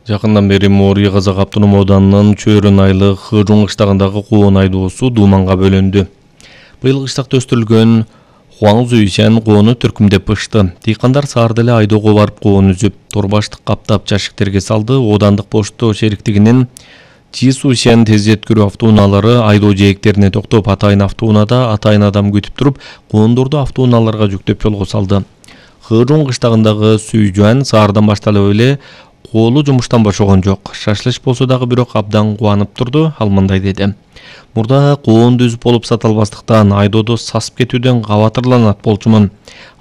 Жакындан бери Моорий Казак автоном ауданынын Чөйрөн айылы Хыжун кыштагындагы коон айдоосу дууманга бөлөндү. Быйыл кыштакта өстүрүлгөн Хуаң Зүйсен коону түркүмдеп пышты. Дыйкандар саарда эле айдоого барып коон үзүп, торбаштык каптап жашиктерге салды. Оодандык почто шериктигинин Чисушен тез жеткирүү автоунаалары айдоо жээктерине токтоп, атайын автоунада атайын адам күтүп туруп, коондорду автоунааларга жүктөп жолго салды. Хыжун кыштагындагы Сүйжөн саардан башталып эле коолу жумуштан бошогон жок. Шашлыш болсо дагы бирок абдан кубанып турду. Ал мындай деди: "Мурда коонду үзүп болуп сата албастыктан айдоодо сасып кетүүдөн кабатырланат болчумун.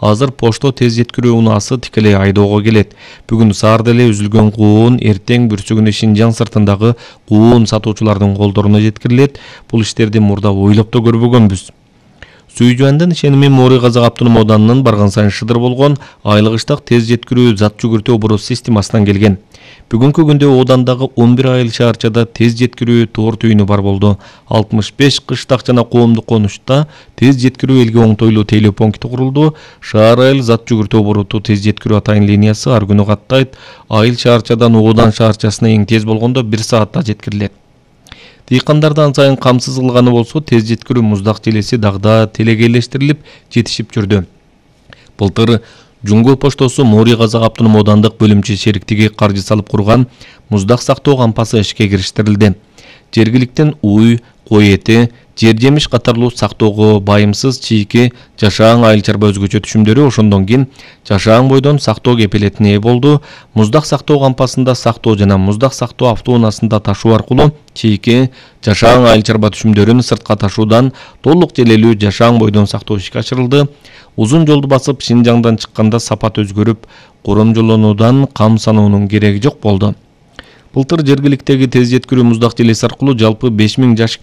Азыр почто тез жеткирүү унаасы тикелей айдоого келет. Бүгүн саарда эле үзүлгөн коон эртең бүрсүгүнө Шинжаң сыртындагы коон сатуучулардын колдоруна жеткирилет. Бул иштерди мурда ойлоп да көрбөгөнбүз." Сүйжөндүн ишеними Моорий Казак автоном ауданынын барган сайын шыдыр болгон айлыгыштак тез жеткирүү зат жүгүртүү оборот системасынан келген. Бүгүнкү күндө оодандагы 11 айыл шаарчада тез жеткирүү тоор түйүнү бар болду. 65 кыштак жана коомдук конушта тез жеткирүү элге оңтойлуу тейлөө пункти курулду. Шаар айыл зат жүгүртүү обороту тез жеткирүү атайын линиясы ар күнү каттайт. Айыл шаарчадан оодан шаарчасына эң тез болгондо 1 саатта жеткирилет. Дыйкандарды ан сайын камсыз кылганы болсо, тез жеткирүү муздак желеси дагы телегейлештирилип жетишип жүрдү. Былтыр Жуңгул поштосу Моорий Казак автоном аудандык бөлүмчө шериктиги каржы салып курган муздак сактоо кампасы ишке кириштирилди. Жергиликтен уй, кой эти, жер жемиш катарлуу сактоого байымсыз чийки жашаан айыл чарба өзгөчө түшүмдөрү ошондон кийин жашаан бойдон сактоо кепилетине ээ болду. Муздак сактоо кампасында сактоо жана муздак сактоо автоунаасында ташуу аркылуу чийки жашаан айыл чарба түшүмдөрүн сыртка ташуудан толук желелүү жашаан бойдон сактоо ишке ашырылды. Узун жолду басып Шинжаңдан чыкканда сапат өзгөрүп, коромжолонуудан кам саноонун кереги жок болду. Былтыр жергиликтеги тез жеткирүү муздак желеси аркылуу жалпы 5000 жашик